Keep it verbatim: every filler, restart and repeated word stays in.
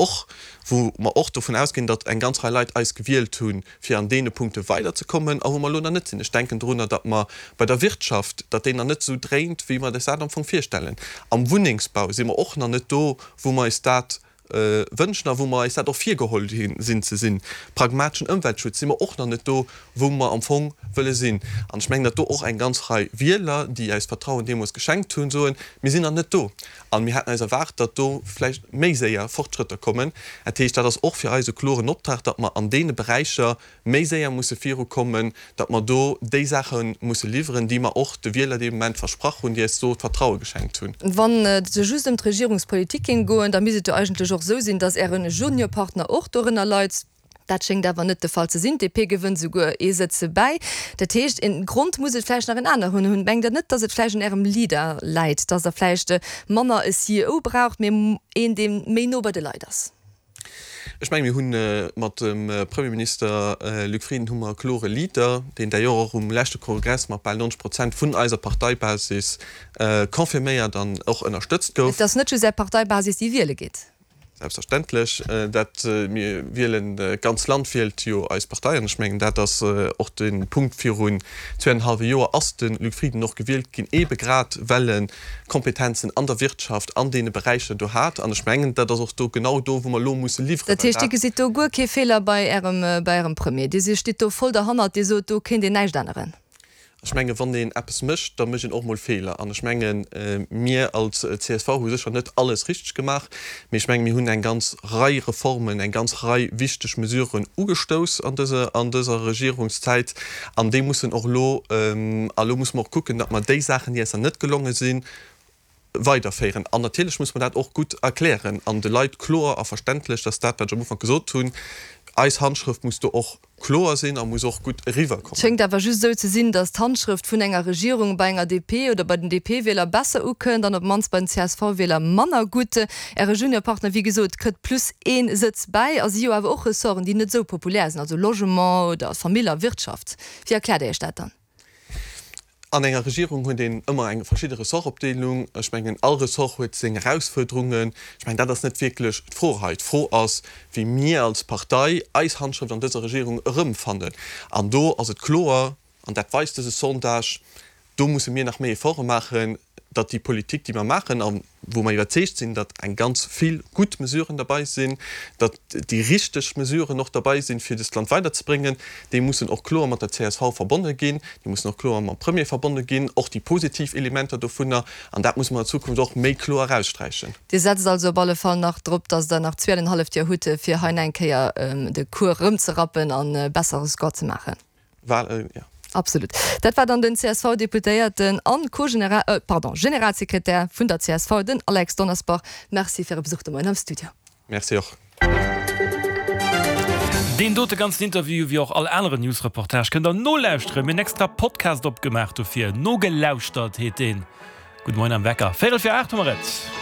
mer och, wou mer och dovun ausginn, datt eng ganz Rei Leit eis gewielt hunn, fir an deene Punkte weiderzekommen a wou mer elo nach net sinn. Ech denken drunner, datt mer bei der Wirtschaft, datt déi nach net esou dréint, wéi mer eis dat am Fong virstellen. Am Wunnengsbau si mer och nach net do, wou mer eis dat wënschen a wou mer eis dat och virgeholl sinn ze sinn. Pragmateschen Ëmweltschutz si mer och nach net do, wou mer am Fong wëlle sinn. An ech mengen, datt do och eng ganz Rei Wieler, déi eis Vertrauen deemools geschenkt hunn, soen, Mir sinn nach net do a mir hätten eis erwaart, datt do vläicht méi séier Fortschrëtter kommen. Dat heescht, dat ass och fir eis e kloren Optrag, datt mer an deene Beräicher méi séier musse virukommen, datt mer do déi Saache musse liwweren, déi mer och de Wieler dee Moment versprach hunn, déi eis do d'Vertraue geschenkt hunn. Wann et just ëm d'Regierungspolitik géing goen, da misst et jo eigentlech och esou sinn, datt Äre Juniorpartner och dorënner leit. Dat schéngt awer net de Fall ze sinn. D'DP gewënnt souguer ee Sëtz bäi. Dat heescht, e Grond muss et vläicht nach en aneren hunn. Mengt Der net, datt et vläicht un Ärem Leader läit, datt Der vläicht manner e C E O braucht, mee een, dee méi no bei de Leit ass? Ech mengen, mir hu mat dem Premierminister Luc Frieden hu mer e klore Leader, deen d'ailleurs och um leschte Kongress mat bal neunzeg Prozent vun eiser Parteibasis confirméiert an och ënnerstëtzt gouf. Et ass net just Är Parteibasis, déi wiele geet. Selbstverständlech. Dat mir wielen, d'ganz Land wielt jo eis Partei. An ech mengen, dat ass och de Punkt, Virun zwee an en hallwe Joer ass de Luc Frieden och gewielt ginn, eebe grad well e Kompetenzen an der Wirtschaft, an deene Beräicher do hat. An ech mengen, dat ass och do genau do, wou mer elo musse liwweren. Dat heescht, Dir gesitt do guer kee Feeler bei Ärem, bei Ärem Premier? Dir stitt do voll derhannert, Dir sot, do kéint een näischt änneren? Ech mengen, wann een eppes mécht, da mécht een och mol Feeler. An ech mengen, mir als C S V hu sécher net alles richteg gemaach, mee ech mengen, mir hunn eng ganz Rei Reformen, eng ganz Rei wichteg Mesuren ugestouss an dëser, an dëser Regierungszäit. An déi mussen och elo, a elo musse mer och kucken, datt mer déi Saachen, déi eis nach net gelonge sinn, weiderféieren. An natierlech muss mer dat och gutt erklären an de Leit kloer a verständlech, datt dat, wat ech am Ufank gesot hunn, eis Handschrëft muss do och kloer sinn a muss och gutt Et eriwwerkommen. Schéngt awer just esou ze sinn, datt d'Handschrëft vun enger Regierung bei enger D P oder bei den D P-Wieler besser ukënnt an op d'mannst bei den C S V-Wieler manner gutt. Äre Juniorpartner, wéi gesot, kritt plus ee Sëtz bäi a si jo awer och Ressorten, déi net esou populär sinn, also Logement oder Famill a Wirtschaft. Wéi erkläert Dir Iech dat dann? An enger Regierung huet een ëmmer eng verschidde Ressortopdeelung. Ech mengen, all Ressort huet seng Erausfuerderungen. Ech mengen, dat ass net wierklech d'Fro hei. D'Fro ass, wéi mir als Partei eis Handschrëft an dëser Regierung erëmfannen. An do ass et kloer, an dat weist dëse Sondage, do musse mir nach méi Efforte maachen, datt déi Politik, déi mer maachen a wou mer iwwerzeegt sinn, datt eng ganz vill gutt Mesuren derbei sinn, datt déi richteg Mesuren och derbei sinn, fir dëst Land weiderzebréngen, déi mussen och kloer mat der C S V verbonne ginn, déi mussen och kloer mam Premier verbonne ginn, och déi positiv Elementer dovunner. An dat musse mer an Zukunft och méi kloer eraussträichen. Dir setzt also op alle Fall nach drop, datt Der nach zwee an en halleft Joer hutt, fir hei nach eng Kéier de Cours erëmzerappen a bessere Score ze maachen? Well, jo. Absolut. Dat war dann den C S V-Deputéierten an Co-General, äh, pardon, Generalsekretär vun der C S V, den Alex Donnersbach. Merci fir Äre Besuch de Moien am Studio. Merci och. Deen dote ganzen Interview, wéi och all aneren News-Reportage, kënnt der nolauschteren. Mir hunn extra Podcast opgemaach dofir. Nogelauschtert heet deen. Gudde Moien am Wecker. Véierel fir aacht hu mer et.